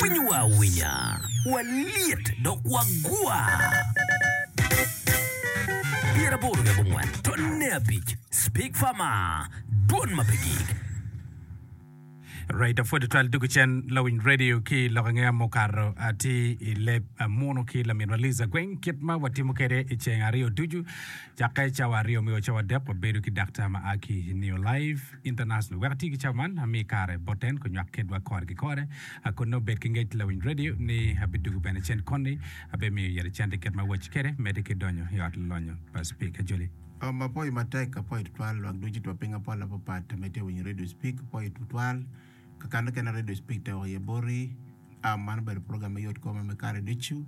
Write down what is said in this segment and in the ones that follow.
Winyowa awinya, walyet dok wagwa. 84 tonne abic Speak Farmer, dwon ma pe gik. Right, apwod tutwal dugu cen lawiny radio ki lok angeya mukato atir i leb munu ki laminwa Liza Gweng kit ma watimo kede i ceng aryo ducu cakke cawa aryo me o cawa adek wabedo ki daktar ma a ki i New Life International. Wek ati ki cawa man ami kare bot en kunywak kedwa kore ki kore kun nongo bed ki ngec lawiny radio ni abidugu bene cen koni abimiyo yere cente kit ma awaci kede mede ki donyo i ot lonyo pa Speaker Joli. Apoyo matek, apoyo tutwal lwak ducu twa piny apol apapat ma itye winyo Radio Speak, apoyo tutwal kakane kene Radio Speak teko iye boti. Man obedo program me yot kom me kare ducu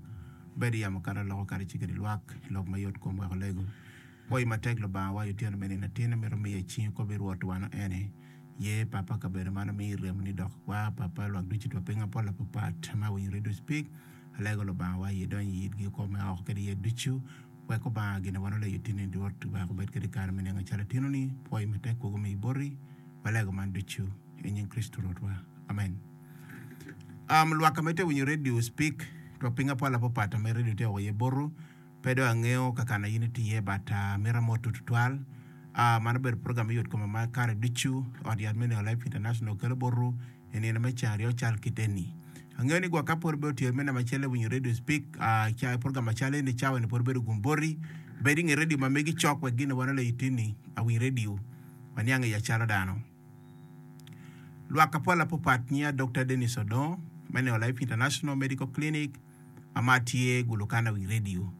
bedo yamo kata loko kare ci kede lwak lok me yot kom wek olego. Apoyo matek Lubanga wa i otyeno me nino atin amito miyo i cingi kobi Rwot wano eni ye papa kabedo man omiyi remo ni dok wa papa lwak ducu twa piny apol apapat ma winyo Radio Speak alego Lubanga wa iye donyo i itgi kwo me oko kede iye ducu Wek Obanga gin wan oleyo tini Rwot wek obed kede kare me nengo calo atinoni, pwoyi matek kwogo me i boti, walego man ducu i nying Kricito Rwotwa. Amen. Um, lwak ka ma itye winyo radio speak twak piny apwal apapat ma radio tye woko iye botu pe dong angeyo ka kana in itye iye but uh, mito amotu tutwal uh, man obedo program me yot koma ma kare ducu ot yat me Neo Life International kelo botu I nino me ceng aryo cal kit eni. Angeyo ni gwok ka pwod ibedo tye me namba acel winyo radio speak ca program macal eni cawa eni pwod bedo gum boti. Bed inge radio ma megi cok wek gin wan oleyo tini awiny radio waniang iya calo dano. Lwak apwal apopat nyiya Dokta Dennis Odongo me Neo Life International Medical Clinic. ma tye gulo kana wi redio.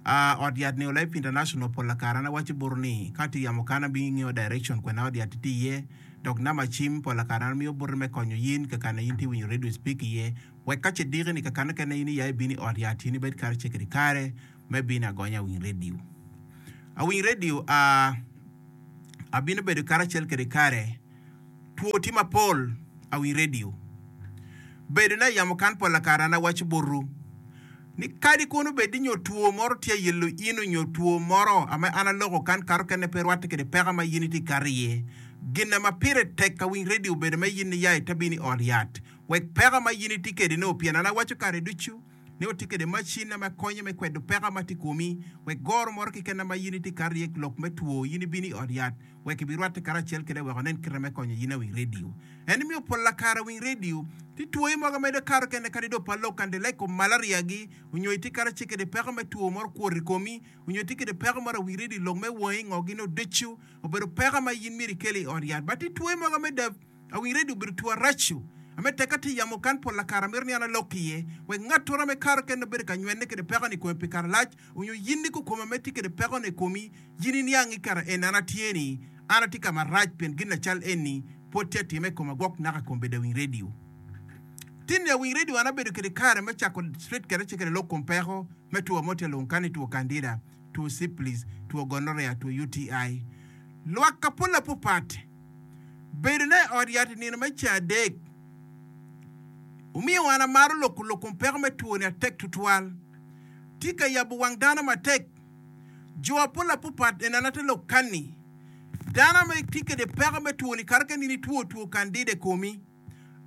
A Ot yat Neo Life International pol kare an awaco boti ni ka atye yamo kana abingi ngeyo direction kwena ot yat tye iye dok namba cim pol kare an amiyo boti me konyo yin kakana in tye winyo radio speak iye wek ka ce diki ni kakana kene in iya ibino i ot yat in ibed kare ce kede kare me bino agonya awiny radio. Awiny radio a abino bedo karacel kede kare. Two tye mapol awi redio. Bedo ne yamo kan pola kare an awaco botwu ni kadi kono bed ni nyo two moro tye ayelo in onyo two moro ame an aloko kan kato kene pe rwatte kede peko ma yin itye kato iye. Gin ma pire tek awiny redio obedo me yin niya ite bino i ot yat wek peko ma yin itye kede no pien an awaco kare ducu ni watye kede macin ma konyo me kwedo peko ma tye komi wek goro moro keken ma yin itye kato iye lok me two yin ibino i ot yat wek ibirwatte karacel kwede wek onen kite me konyo in awiny redio. En imiyo pol lakare awiny redio ti twoyi mogo medo kato kene kadi do pa lok kande like kom malaria gi onyo itye karacel kede peko me two moro kwot i komi onyo itye kede peko moro awiny redio lok me wangi ngo gin oducu obedo peko ma in myero ikel i ot yat but ti twoyi mogo me awiny redio obedo two aracu ame tek ka tye yamo kan pol lakare amito ni an alok iye wek ngat oro me kato kene obedo ka nywene kede peko ni kome pi kare lac onyo yin ni kukome ma itye kede peko ni komi Yin iniang i kare en an atye ni an atye ka marac pien gin lacal eni pwod tye atime i koma gwok naka kom bedo awiny radio. Tin ni awiny radio an abedo kede kare me cako straight kede ace kede lok kom peko me two mo tye alung kani two candida, two syphilis, two gonorrhea, two UTI. Lwak ka pol apopat bedo na i ot yat i nino me ceng adek omiyo an amaro loko lok kom peko me two ni atek tutwal. Tye ka yabo wang dano matek. Jo apol apopat en ate lok kanni. Dano ma itye kede peko me two-ni kare kene in itwo two candida i komi,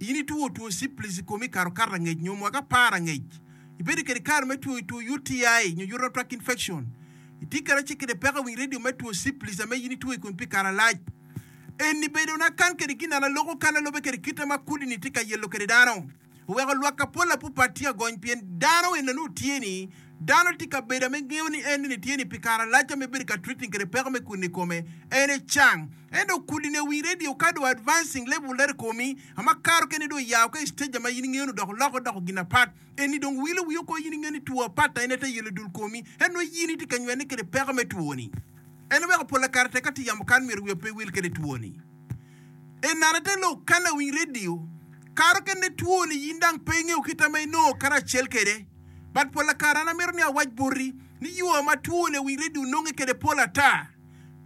in itwo two syphilis i komi kare okato angec nyo mwaka apar angec, ibedo kede kare me two two UTI nyo urinary tract infection, itye kede ace kede peko i winy radio me two syphilis ame in itwo i komi pi kare alac. Eni bedo na kan kede gin an aloko kan alobe kede kite ma kudi-ni tye ka yelo kede dano. Oweko lwak apol apupat tye agony pien dano eni nongo tye ni dano tye ka bedo ame ngeyo ni en ni tye ni pi kare alac ame bedo ka treating kede peko me kudi ni kome en ecang ento kudi ni owiny radio ka dong advancing level dok i komi ama karo kene dong oyawo ka i stage ama in ingeyo ni dok oloko doko gin apat eni dong wilo wiyi oko in ingeyo ni two apat aye te yelo dul komi en nongo in itye ka nywene kede peko me two ni en weko pol kare tek ka tye yamo kan myero wiya pe wil kede two ni. Enana te lok ka lawiny redio karo kene two ni yin dang pe ingeyo kita ma inongo karacel kede. But pola kare an amito ni awac boti ni yoo ma two lawiny redio nonge kede pol ata.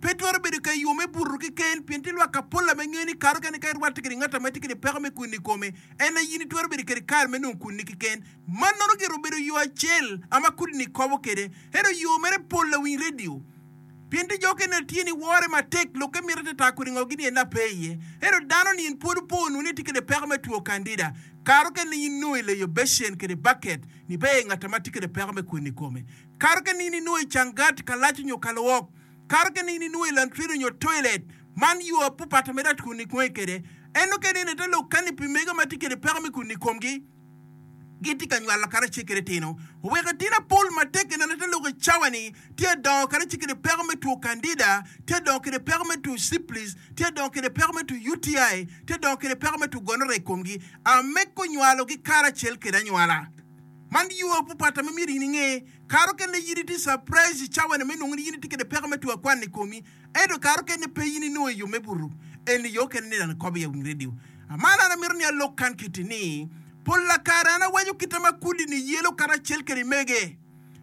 Pe twero bedo ka yoo me buto keken pien tye lwak apola ma ingeyo ni karo kene ka irwatte kede ngat ma tye kede peko me kwini ikome en aye yin itwero bedo kede kare me nongo kwini keken. Mannono gire obedo yoo acel ama kudini kobo kede ento yoo mere pol lawiny redio. Pien ti jo okene tye ni wore matek, lokke mito te taa kodi ngo gini en ape iye. Ento dano ni en pwod opo nunu ni etye kede peko me two candida. Kare okene in inongo i leyo becen kede baket ni ber ngat ma tye kede peko me kwene i kome. Kare okene in inongo i cangat, kalac nyo kalwok. Kare okene in inongo i lantrin nyo toilet. Man yo apapat ma irac kwene i kede. En okene in ite lok kani pi mege ma tye kede peko me kwene i komgi. Gitye ka nywalo karacel ki litino. Oweko litino apol matek ineno te lok i cawa-ni tye adongo karacel kede peko me two candida, tye adongo kede peko me two syphilis, tye adongo kede peko me two UTI, tye adongo kede peko me two gonorrhea i komgi. Ameko nywalogi karacel kede anywala. Man yo apapata ma myero in inge. Kare okene in itye surprise i cawa-ni me nongo ni in itye kede peko me two akwan i komi. Ento kare okene pe in inongo i yo me buto. Eni yo okene ni dano kobo i awiny redio. Man an amito ni alok kan kiti ni, pol kare an awaco kita ma kudi ni yelo karacel kede mege.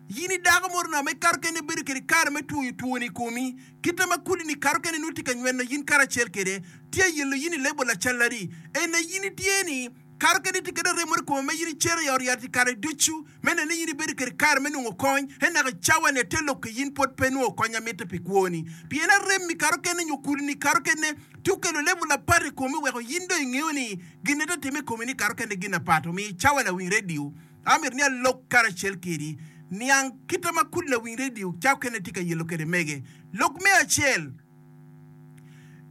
Yin i dako mo rono ma kare okene ibedo kede kare me twoyo twoni i komi, kita ma kudi ni kare okene nongo tye ka nyweno yin karacel kede, tye yelo yin i lebo lacaladi. Ene yin itye ni, Kare kadi itye kede remo i kome ma in icito i ot yat i kare ducu, me neno ni in ibedo kede kare me nongo kony, en naka i cawa-ni ate lok ki in pwod pe inongo kony ma mitte pi kwoni. Pien arem-mi kare okene nyo kudi-ni kare okene tye okelo level apat i komi weko in dong ingeyo ni gin ma tye timme i komi ni kare okene gin apat. Omiyo i cawa lawiny redio, amito ni alok karacel kedi niang kite ma kudi lawiny redio cawa okene tye ka yelo kede mege. Lok me acel.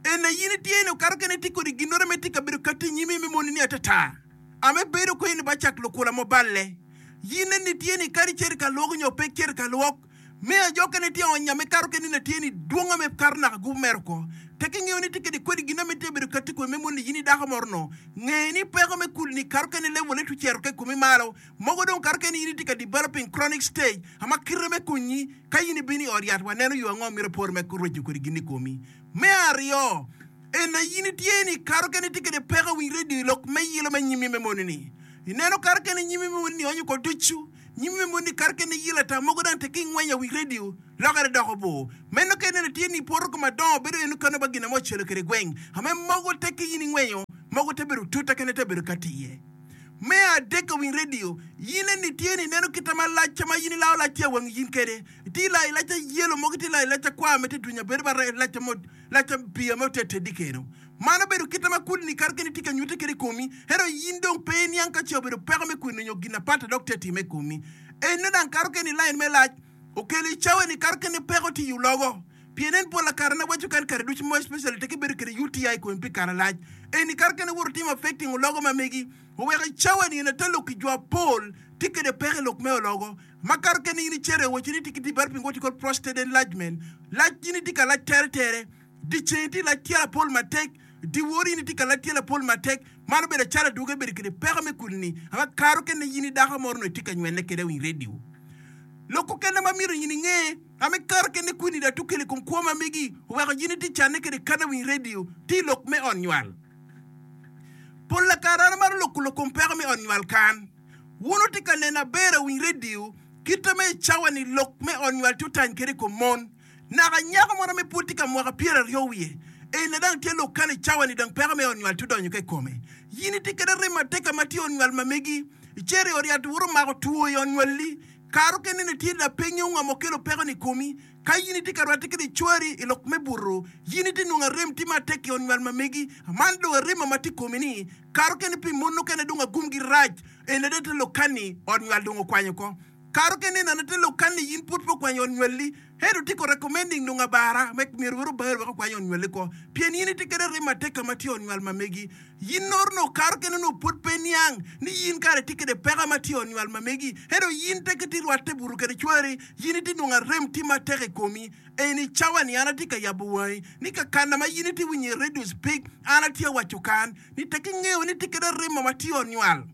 Ene in itye ni okato kene itye kodi ginore me tye kabedo kati nyimi me moni ni atata ame bedo ko in ba cak lukula mo balle. Yin eni itye ni kadi icito ka lwok nyo pe icito ka lwok, me ajo kene itye onya me kato kene ni atye ni dwonga me kato naka gupu mere oko. Tek ingeyo ni itye kede kodi gin ame tye bedo kati komi me moni ni yin idako moro no, nge ni peko me kuli ni kato kene level ne tucero ke komi malo. Mogo dong kato kene in itye ka developing chronic stage ama kite me konyi Ka in ibino i ot yat, waneno yo ango myero ipor me rweco kwede gin i komi. Me aryo, ene in itye ni kato kene itye kwede peko i winy redio i lok me yilo me nyimmi me moni-ni. Ineno kato kene nyimmi me moni-ni onyo ko ducu. Nyimmi me moni-ni kato kene yilo ata mogo dang tek ingwenyo i winy redio, lokere doko bor. Meno ka ineno tye ni ipoto koma dongo bedo eno kano ba gin mo ocelo kwede gweng. Ame mogo tek ki in ingwenyo, mogo te bedo tuta kene te bedo kati iye. Me adek winy redio, in eni tye ni ineno kita ma lacca ma in ilao lac tye awangi yin kede. Itye ilayo lacca yelo mogo itye ilayo lacca kwar ma tye dunya bedo ba lacca mo lacca pii ame ote tedi keno. Man obedo kita ma kudni kare kene tye ka nyute kede i komi, ento in dong pe iniang ka ce obedo peko me kwino nyo gin apat dok tye atime i komi. Eno dang kare kene i lain me lac okelo i cawa ni kare kene peko tye i ologo. Pien en pola kare na waco kan kare ducu mo especially tek ibedo kede UTI i komi pi kare lac. Eni kare kene woto timo affecting ologo ma megi oweko i cawa ni en ata lok ki jo apol tye kede peko i lok me ologo ma kare kene in icito i waco ni itye ki developing what you call prostate enlargement lac in itye ka lac tere tere di ceng itye lac tyelo apol matek di wor in itye ka lac tyelo apol matek man obedo acalo adwogi ibedo kede peko me kudi ni ama kare kene in i dako moro no itye ka nywene kede i radio. Lok okene ma myero in inge. Ame kare kene kwini da tukelo i kom kwo ma megi oweko yin itye canne kede kana winy radio tye i lok me ot nywal. Pol lakare an amaro loko lok kom peko me ot nywal kan. Wun wutye ka neno aber awiny radio kite me i cawa ni lok me ot nywal tye otany kede i kom mon. Naka nyako mono me pwod tye ka mwaka pyeraryo wiye ene dang tye lok kan i cawa ni dang peko me ot nywal tye odonyo ka i kome. Yin itye kede rem matek ama tye i ot nywal ma megi. Icito i ot yat woto mako two i ot nywalli. Kare okene ni tye lapeny ongo ma okelo peko ni komi. Ka in itye ka rwatte kede cwari i lok me buto, yin itye nongo arem tye matek i ot nywal ma megi. Man dong arem ma tye i komi ni, kare okene pi mon okene dong agumgi rac, en adada te lok kani ot nywal dong okwanyo oko. Kare okene en adada te lok kani yin pud pe okwanyo ot nywalli, ento tye ko recommending nongo abara me myero wek obari wek okwany ot nywalli ko. Pien yin itye kede arem matek ka ma tye i ot nywal ma megi. Yin noro nongo kare kene onongo pwod pe iniang ni yin kare itye kede peko ma tye i ot nywal ma megi, ento yin teke itye rwatte buto kede cwari, yin itye nongo arem tye matek i komi. Eni cawa ni an atye ka yabo wangi ni kakana ma yin itye winyo i radio speak, an atye awaco kan ni teke ingeyo ni itye kede arem ma tye i ot nywal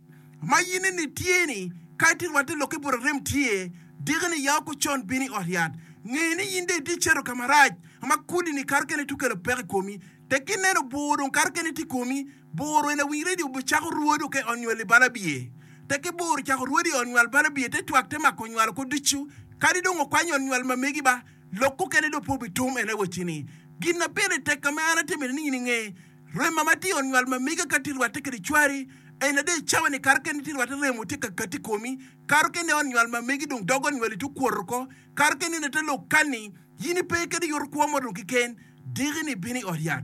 ma yin eni tye ni ka itye rwatte lokke but arem tye diki ni ya oko con bino i ot yat nge ni yin dong itye cito ka marac ma kudi ni kare kene tye kelo peko i komi. Tek ineno bur dong kare kene tye i komi, bur eni awinyo ni obicako rwodo ka i ot nywal i bal abiye. Tek ki bur ocako rwodo i ot nywal bal abiye te twak te mako nywal oko ducu. Kadi dong okwanyo ot nywal ma megi ba, lok okene dong pe obitum en awaci ni, Gin na pire tek ka ma an atye mito ni in inge, rema ma tye i ot nywal ma mega ka tye rwatte kede cwari, en ade i cawa ni kare kene tye rwatte remo tye ka kati i komi, kare kene ot nywal ma megi dong dog ot nywali tye okwoto oko, kare kene in ite lok kani, In ipe kede yoto kwo mo dong keken, diki ni ibino i ot yat.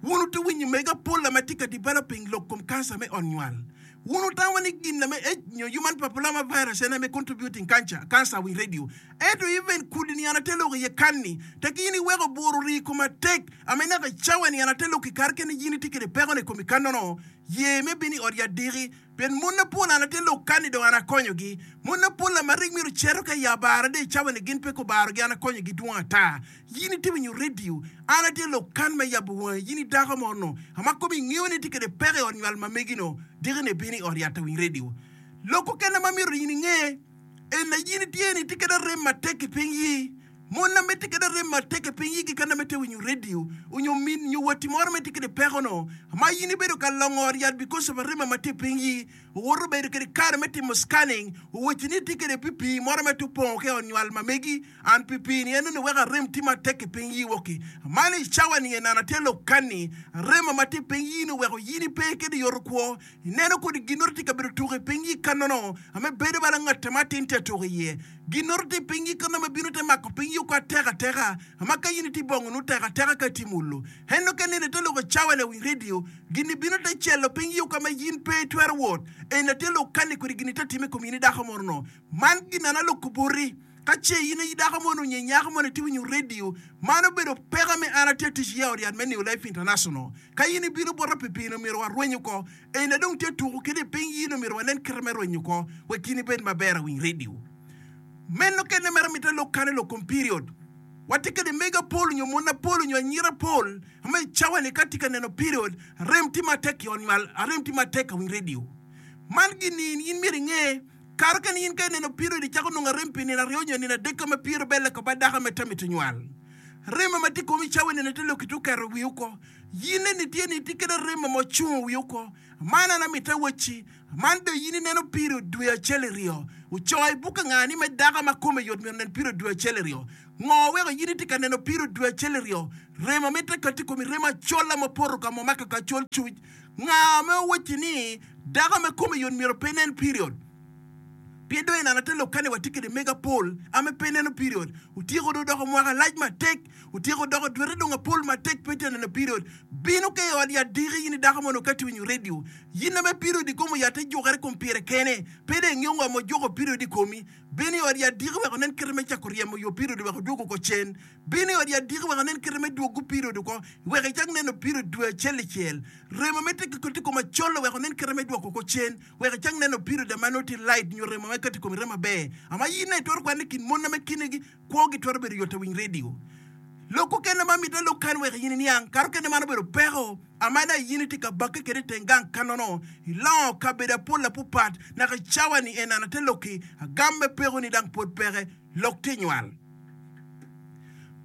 Wun wutye winyo mege apol ma tye ka developing lok kom cancer me ot nywal. Wun wutamo ni gin me H nyo human papilloma virus en aye me contributing cancer, cancer winy radio. Ento even kudi ni an ate lok iye kan-ni, tek in iweko bur ori i koma tek, ame naka i cawa ni an ate lok i kare kene in itye kede peko ni i komi kanono, ye me bino i ot yat diki. Pien mon mapol an atye lok kani dong an akonyogi. Mon mapol ma rik myero cito ka i abara de i cawa ni gin pe kubarogi an akonyogi dwong ata. Yin itye winyo radio, an atye lok kan me yabo wangi yin i dako mo no ama komi ingeyo ni itye kede peko i ot nywal ma megi no diki ni ibino i ot yat awiny radio. Lok okene ma myero yin inge en na yin itye ni itye kede arem matek i piny yi. Mon na mitte kede arem matek i piny yigi ka nongo itye winyo radio onyo min nyo watti moro ma itye kede peko no ma in ibedo ka longo ot yat because of arema ma tye i piny yi owoto bedo kede kare me timo scanning owacci ni itye kede pi pii moro ma tye opongo ki ot nywal ma megi and pi pii ni enoni weko arem tye matek i piny yi woki man i cawa ni en an atye lok kani arema ma tye i piny yi ni oweko yin ipe kede yoto kwo Ineno kodi ginnoro tye ka bedo tuko i piny i kanono ame bedo bala ngat ma atin tye atuko iye. Ginnoro tye i piny i kanono ame bino te mako piny i oko ateka ateka, ama ka in itye i bongo nongo tek ateka ka itye mulo. Ento ka ineno ite loko cawa lawiny redio, gin-ni bino te celo piny i oko ame in pe itwero wot. Eni atye lok kani kodi gin ite time i kom in i dako moro-no. Man gin an aloko boti. Ka ce in aye dako moni onyo inyako moni itye winyo redio, man obedo peko me an atye tic iye ot yat me New Life International. Ka in ibino bota pi pii-ni omyero warweny oko. Eni dong tye tuko kede i piny in omyero wanen kite me rwenyo oko wek in ibed maber awiny redio. Meno kene mere mitte lok kane lok kom period. Watye kede mego apol onyo mon apol onyo anyira apol ma i cawa ni ka tye ka neno period arem tye matek i ot nywal arem tye matek awiny redio. Man gin-ni in myero inge. Kare kene in ka ineno period icako nongo arem pi nino aryo nyo nino adek ka ma period belle ko ba dako me tamito nywal. Remo ma tye komi cawa nino te loki to keto wi oko. Yin eni tye ni itye kede remo ma ocungo wi oko. Man an amito awacci, man do yin ineno period dwe acel iryo. Ocoyo i buk anga ni me dako ma kome yot myero onen period dwe acel iryo. Ngo weko yin itye ka neno period dwe acel iryo? Remo ma ite kati komi remo acola ma poto ka mo ma kaka acol cuc. Nga ma owacci ni dako ma kome yot myero pe nen period? Pien dong ineno ate lok kani watye kede mego apol ame pe neno period. Otyeko dong doko mwaka lac matek, otyeko doko dwete dong apol matek pe tye neno period. Bino ka i ot yat diki in i dako mono ka tye winyo radio. Yin ame period i kom oyatte jukere kom pire kene, pe dong ingeyo ngo ma ojuko period i komi. Bino i ot yat diki wek onen kite me cako ryemo yo period wek odwogo oko cen. Bino i ot yat diki wek anen kite me dwogo period oko, wek icak neno period dwe acel icel. Remo me tye ka kati i kom acol wek onen kite me dwoko oko cen, wek icak neno period ma nongo tye light nyo remo ma kati i komi remo maber. Ama in aye itwero kwane i kin mon ma kinegi kwogi twero bedo yot awiny radio. Lok okene ma mitte lok kany wek in iniang, kare okene man obedo peko ama in aye in itye ka bakke kede iteng gang kanono, ilongo kabedo apol apupat naka i cawa ni en ana te lokki agam me peko ni dang pwod peke. Lok tye nywal.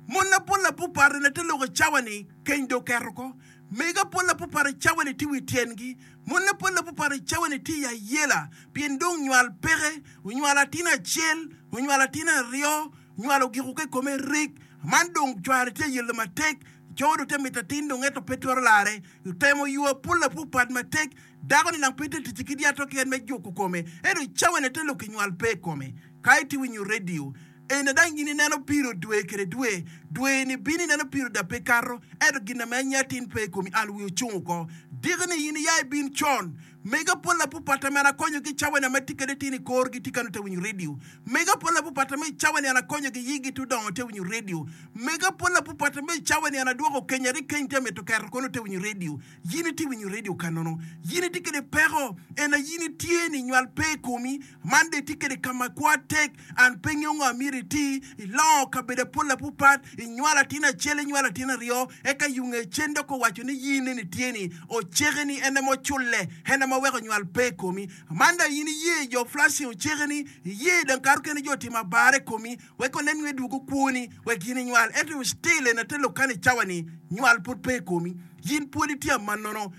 Mon apol apupat ene te lok i cawa ni keny dong oketo oko. Mego apol apupat i cawa ni tye wi tyengi. Mon apol apupat i cawa ni tye i ayela pien dong nywal peke. Onywalo atin acel, onywalo atin aryo, nywal ogiko ka i kome rik. Man dong cware tye ayelo matek. Co dong tye mito atin dong ento pe twero lare. Otemo yo apol apupat matek. Dako ni nang pe tye tic ki lyato keken me juko kome ento i cawa ni te lok ki nywal pe i kome. Ka itye winyo redio eni dang in ineno piro dwe kede dwe, dwe ni bino ineno piro da pe kato, ento gin ame anya tin pe i komi an wi ocung oko. Diki ni in iya ibin con. Mega pol apupata me an akonyo gi cawa ni ame tye kede tin i kor gi tye kano te winyo redio. Mega pol apupata me cawa ni an akonyo gi yigi te odongo te winyo redio. Mega pol apupata me cawa ni an adwoko keny ari keny te mito keto kono te winyo redio. Yin itye winyo redio ka nono. Yin itye kede peko en aye yin itye ni nywal pe i komi. Man dong itye kede ka ma kwa tek an pe ngeyo ngo amyero iti. Ilongo kabedo apol apupat, inywalo atin acel, inywalo atin aryo, eka yunge cen dok owaco ni yin eni tye ni oceke ni en aye ma oculle, en aye ma weko nywal pe i komi. Man dong yin iye jo flashing oceke ni, iye dong kare okene jo otimo abara i komi. Wek onen nyo edwogo kwoni wek in inywal. Ento still en ate lok kani cawa ni nywal pud pe i komi. Yin pwod itye amannono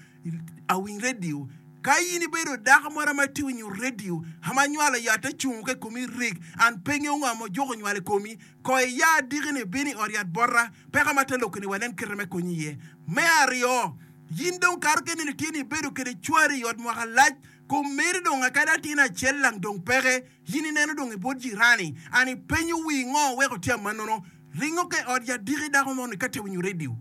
awiny radio. Ka in ibedo dako moro ma itye winyo radio ama nywalo yat acungo ka i komi rik an pe ngeyo ngo ma ojuko nywal i komi. Ko iya adiki ni ibino i ot yat bota peko ma te lok ni wanen kite me konyi iye. Me aryo, yin dong kare kene ni tye ni ibedo kede cwari i ot mwaka lac kom meri dong akadi atin acel lang dong peke. In ineno dong i bot jirani, an ipenyo wii ngo weko tye amannono? Ringo ka i ot yat diki dako mo ni ka tye winyo radio.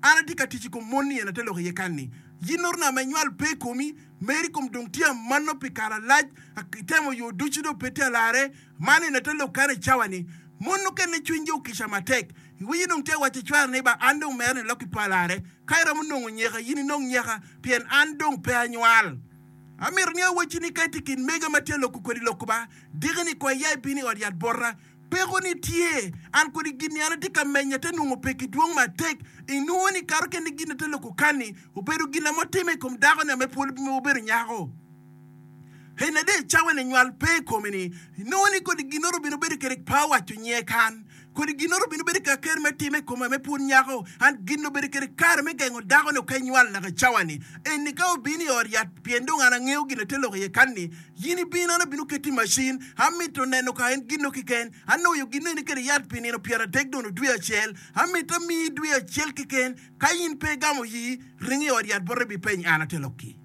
An atye ka tic i kom mon-ni en ate lok iye kan-ni. Yin orna ma inywal pe i komi, meri kom dong tye amanno pi kare alac, itemo yo ducu dong pe tye alarre. Man en ate lok kan i cawa-ni. Mon mukene cwinygi okica matek. Iwinyo dong tye awaco cware ni, Ba, an dong mere ni lokki pe alarre. Ka iromo nongo nyeka, yin inong nyeka, pien an dong pe anywal. Amito ni awacci ni ka itye i kin mega ma tye aloko kwedi lok ba, diki-ni kong iya ibin i ot yat bota. Peko-ni tye, an kodi gin-ni an atye ka menyo ate nongo peki dwong matek. Inongo ni kato kene gin ate loko kan-ni obedo gin ame otime i kom dako-ni ame pwod obedo nyako. En ade cawa-ni nywal pe i kome-ni. Inongo ni kodi ginnoro obino bedo kede pe awaco nyinge kan. Kodi ginnoro obino bedo ka ker me time i kome ame pwod nyako. An gin obedo kede kare me gengo dako-ni ok enywal naka i cawa-ni. Eni ka obino i ot yat pien dong an angeyo gin ate loko iye kan-ni, yin ibin an abino keti i macin. Amito neno ka en ginno keken. Anwoyo ginno eni kede yat pi nino pyeradek dono dwe acel. Amito amiyi dwe acel keken. Ka in pe igamo yi, ring i ot yat bote ibipeny an ate lokki.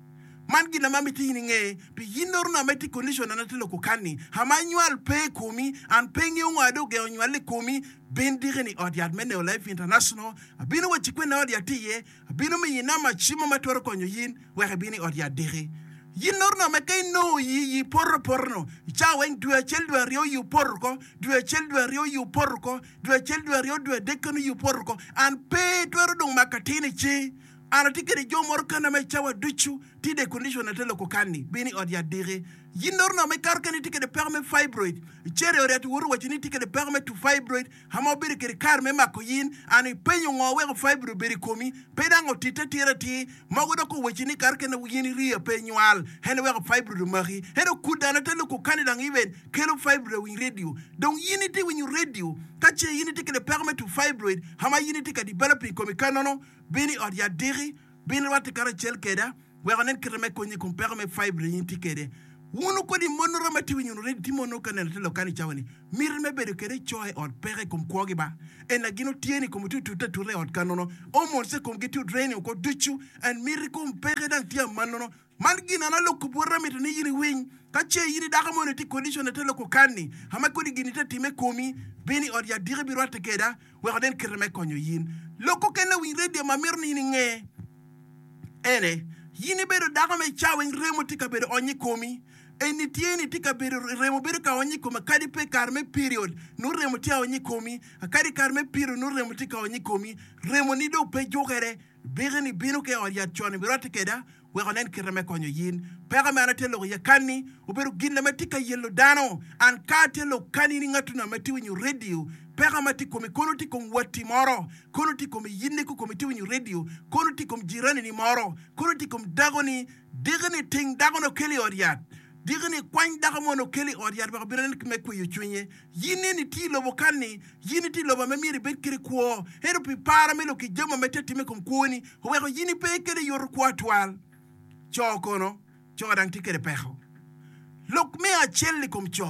Man gin ma amiti in inge, pi yin orna ma itye i condition an atye loko kan-ni, ama anywal pe i komi, an pe ingeyo ngo ade ogengo nywal i komi, bin diki-ni i ot yat me Neo Life International, abino wacci kwene ot yat tye iye, abino miyi namba cimo ma twero konyo yin wek ibin i ot yat diki. Yin orna ma ka inongo yi, yi poto apoto-nu, i cawa weng dwe acel dwe aryo yi opoto oko, dwe acel dwe aryo yi opoto oko, dwe acel dwe aryo dwe adek keno yi opoto oko, an pe itwero dong mako atin i cingi. An atye kede jo moro kana ma i cawa ducu tye de condition ate loko kanni bino i ot yat diki. Yin noro nongo ma ikato kene itye kede peko me fibroid. Icito i ot yat iwoto waco ni itye kede peko me two fibroid ama obedo kede kare me mako yin. An ipenyo ngo weko fibroid obedo i komi pe dang otitte atir atir. Mogo dok owaci ni ikato kene yin iriyo pe inywal en weko fibroid omaki. Ento kudi an ate loko kanni dang even kelo fibroid awiny radio. Dong yin itye winyo radio ka ce yin itye kede peko me two fibroid ama yin itye ka developing i komi kanono. Bin i ot yat diki, bin irwatte karacel keda, wek onen kite me konyi i kom peko me fibroid in itye kede. Wunu kodi mon romo atye winyo already tye mon ka neno te lok kan i cawa ni miti me bedo kede co i ot peko i kom kwogi ba en na gin otye ni kome tye otute atuta i ot ka nono hormones i komgi tye odraining oko ducu and miti kom peke dang tye amanono Man gin an aloko boti amito ni in iwiny. Ka ce in i dako moni itye i condition ate loko kanni, ama kodi gin ite time komi, bin i ot yat diki ibirwatte keda wek onen kite me konyo yin. Lok okene winy radio ma amito ni in inge ene, yin ibedo dako me ca weng remo tye ka bedo ony i komi. Eni tye ni tye ka bedo remo bedo ka ony i komi akadi pe i kare me period nongo remo tye aony i komi, akadi i kare me period nongo remo tye ka ony i komi, remo ni dong pe jukere. Biki-ni bino ki i ot yat con ibirwatte keda wek onen kite me konyo yin. Peko me an atye lok iye kanni obedo gin ma tye ka yelo dano. An ka atye lok kanni ni ngatuna ma tye winyo radio, peko ma tye i komi kono tye i kom watti moro, kono tye i kom iyinni kukomi tye winyo radio, kono tye i kom jiranini moro, kono tye i kom dakoni. Diki-ni ting dako-ni okel i ot yat. Diki-ni kwany dako moni okel i ot yat wek obin onen kit me kweyo cwinye. Yin eni itye i lobo kanni, yin itye i lobo ma myero ibed kwede kwo, ento pi par me lok ki jami ma tye ka timme i kom kwoni, oweko yin ipe kwede yoto kwo atwal. Co kono, co dang tye kwede peko. Lok me acel i kom co.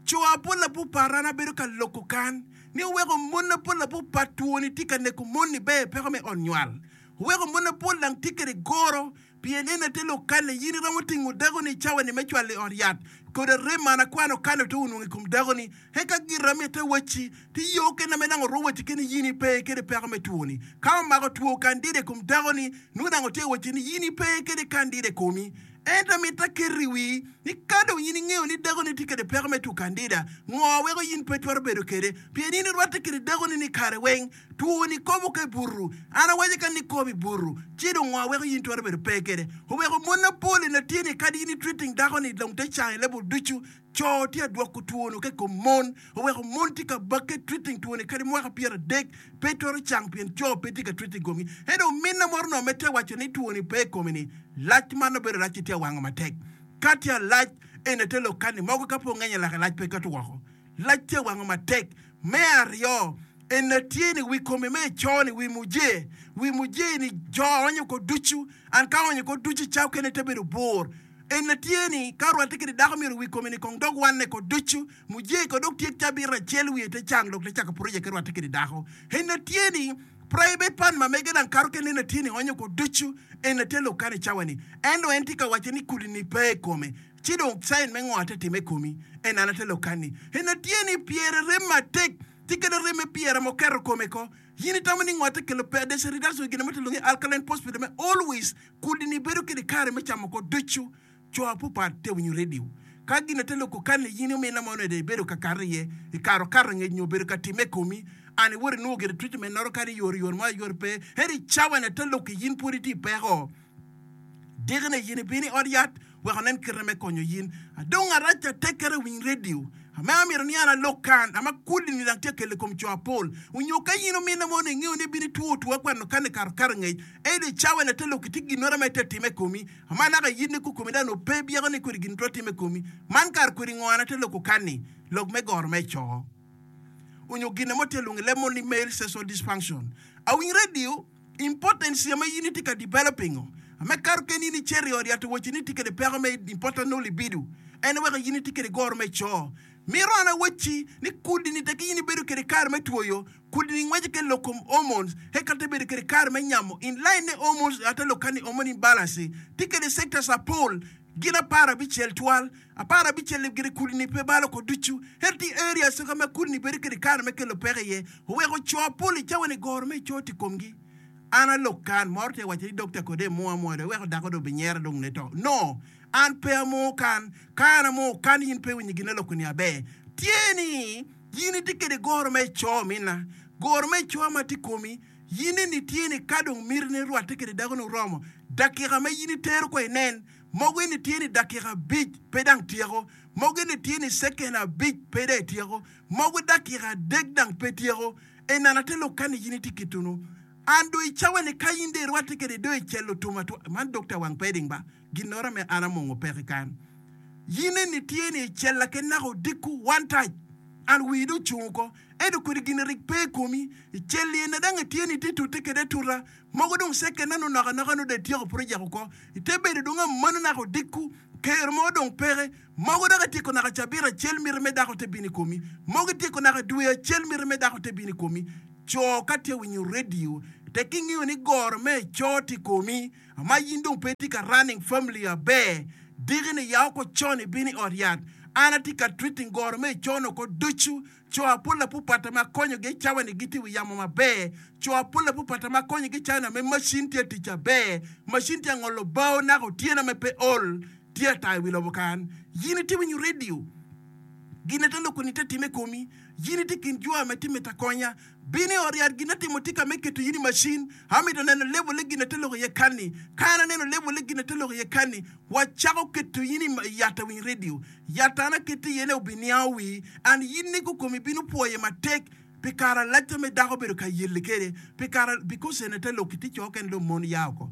Co apol apupat an abedo ka loko kan ni oweko mon apol apupat twoni tye ka neko mon-ni ber peko me ot nywal. Oweko mon apol dang tye kwede goro Pien en aye lok kane, in iromo tingo dakoni i cawani me cwalo i ot yat, kodi arem man akwano kane oto onwongo i kom dakoni, eka gira mitte wacci, Ti yo kene me nang orwo wacci kene yin ipe kede peko me twoni. Ka omako two kandida i kom dakoni, nongo nang otye wacci ni yin ipe kede kandida i komi. Ento mitte aketo i wii ni ka dong yin ingeyo ni dakoni tye kede peko me two kandida, ngo weko yin pe itwero bedo kede? Pien in irwatte kede dakoni ni kare weng. Two-ni kobo ka i butu. An awaco ka ni kobo i butu, ci dong ngo weko in twero bedo pe kwede? Oweko mon mapol eni tye ni kadi in i treating dako ni dong te cango i level ducu, co tye adwoko two-nu ka i kom mon. Oweko mon tye ka bakke treating two-ni kadi mwaka 30 pe twero cang pien co pe tye ka treating komgi. Ento ominna moro onongo med te waco ni two-ni pe i kome ni lac man nongo bedo lac ci tye awango matek. Ka tye alac eni te lok kani mogo ka pe ongenyo lake lac pe kato woko. Lac tye wango matek. Me aryo, ena tye ni wi kome me eco-ni, wi muje. Wi muje-ni jo onyo ko ducu, and ka onyo ko ducu ca okene te bedo bur. Ena tye ni ka orwatte kede dako myero wi kome ni kong dok wanne ko ducu. Muje ko dok tyek cabit acel wiye te cang dok te cako project ki rwatte kede dako. Ena tye ni private part ma mege dang kato kene ena tye ni onyo ko ducu. Ena tye lok kany i cawa ni. Ento en tye ka waco ni kudi ni pe i kome. Ci dong cain me ngo ate time i komi? En an ate lok kan ni, En atye ni pyere rem matek. Tye kede rem me pyere ma oketo kome ko. Yin itamo ni ngo te kelo pe there's a reduction gin mo te lwongo ni alkaline phosphate me always kudi ni bedo kede kare me camo ko ducu. Co apupat te winyo radio. Ka gin te loko kani yin omina mo nede ibedo ka kato iye ikato kato ngec nyo obedo ka time komi and iwoto inwongo gire treatment noro kadi yor yor mo ayor pe ento i cawa ni te loko yin pwod itye i peko. Dikine yin ibino i ot yat wek onen kite me konyo yin. Adong arac atekkere winy radio ame amito ni an alok kan ama kudi ni dang tye kelo i kom co apol. Onyo ka yin omine mo ni ingeyo ni ibino itwo two akweno kan ikato kato ngec ento i cawa ni ate lok itye ginoro ma ite time i komi ama naka yin ni kukomi dang nongo pe byeko ni kodi gin twero time i komi. Man kare kodi ngo an ate loko kan ni lok me goro me co onyo gine mo tye lwongo i leb mo ni male sexual dysfunction. Awiny radio. Importance ma in itye ka developing o me kato keni in icito i ot yat owaci ni itye kede peko me important no libido en weko in itye kede goro me coo. Mito an awacci ni kudi ni teki in ibedo kede kare me twoyo kudi ni ngweco ke lok kom hormones eka te bedo kede kare me nyamo in line ne hormones ate lok kani hormone imbalance tye kede sectors apol gin aparabicel twal aparabicel li gire kudi ni pe balo ko ducu ento tye areas ka ma kudi ni bedo kede kare me kelo peko iye Oweko co apol i cawa-ni goro me co tye i komgi. An alok kan, moro tye ka waco ni dokta kode emung amunga dong iweko dako dong obinyera dong ne to. No, an pe amungo kan. Ka an amungo kan in pe iwinyo gin aloko ni aber. Tye ni in itye kede goro me co minna. Goro me co ma tye i komi, in eni tye ni ka dong miti ni rwatte kede dako ni oromo, dakika ma in itero kwa inen, mogo eni tye ni dakika abic pe dang tyeko, mogo eni tye ni ceken abic pe dang ityeko. Mogo dakika adek dang pe tyeko. Enana te lok kani yin itye kitunu. An do i cawa ni ka yin do irwate kede do i celo tum atwa man dokta wang peding ba ginora me an amongo peke kan. Yin eni tye ni i cella ke naka odiko one touch an wii do ocung oko ento kodi gini rik pe i komi i celli ena dang itye ni itye tute kede atuta mogo dong second na nonok anoka nongo dong ityeko project oko ite bedo dong amano naka odiko kero mo dong peke Mogo dok ityeko naka cabit acel miti me dako te bino i komi. Mogo ityeko naka dwe acel miti me dako te bino i komi. Co ka tye winyo radio tek ingeyo ni goro me eco tye i komi ma in dong pe itye ka running family aber diki ni ya oko con ibino i ot yat. An atye ka treating goro me eco ni oko ducu. Co apol apupata ma akonyo gi i cawa ni gitye i wi yamo maber. Co apol apupata ma akonyo gi i cawa ni ame macin tye atic aber. Macin tye angolo bao naka otyeno ame pe ol. Tye ata i wi lobo kan. Yin itye winyo redio. Gin ate loko ni te time komi. Yin itye kin jo ame tye mito akonya. Bin i ot yat gin atimo tika me keto yin i macin. Amito neno level le gin ate loko iye kanni. Ka an aneno level le gin ate loko iye kanni, wacako keto yin i yat awiny redio. Yat an aketo iye ne obiniango wii and yin ni kukomi bino pwoye matek pi kare alac ame dako obedo ka yelle kede pi kare because ene te lok itye co kene dong mon ya oko.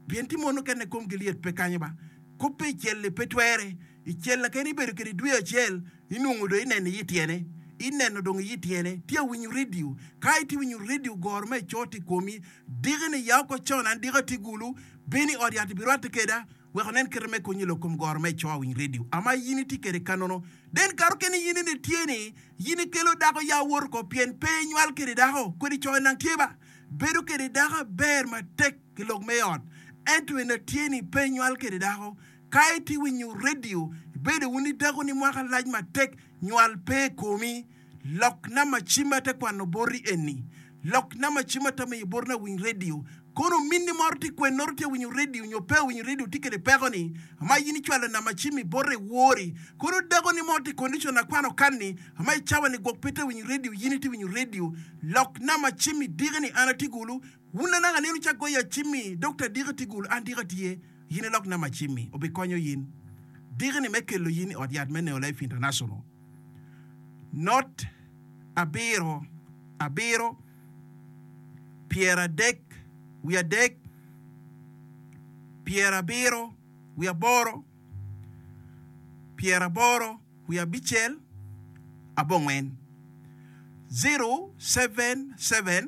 Pien ti mon mukene komgi lyet pe kanyo ba. Koppe i cel-li pe twere. I cel-la kene ibedo kede dwe acel, inwongo dong ineno iye tyene. Ineno dong iye tyene. Tye awinyo redio. Ka itye winyo redio goro me ecot i komi, diki-ni ya oko con an diki atye gulu, bin i ot yat ibirwatte keda wek onen kite me konyi lok kom goro me eco awiny redio ama in itye kede kanono. Den kato kene in eni tye ni in ikelo dako ya wot oko pien pe inywal kede dako. Kodi co nang tye ba. Bedo kede dako aber matek. Ki lok me ot. Ento en atye ni pe inywal kede dako. Ka itye winyo radio, ibedo wun i dako ni mwaka lac matek nywal pe i komi. Lok namba cim ate kwano boti eni. Lok namba cim ate miyo boti na winy radio. Kono ominni moro tye kwen noro tye winyo radio nyo pe winyo radio tye kede peko ni ama in icwalo namba cim i bote wori. Kono dako ni moro tye condition akwano kan ni ama i cawa ni gwok pe te winyo radio yin itye winyo radio. Lok namba cim i diki ni an atye gulu. Wun anaka nino ca goyo acimmi, Dokta diki tye gulu, an diki atye, yin ilok namba cimmi, obikonyo yin diki ni me kelo yin i ot yat me Neo Life International. Not abiro abiro pyeradek wiadek pyerabiro wiaboro pyeraboro wiabicel abongwen 077.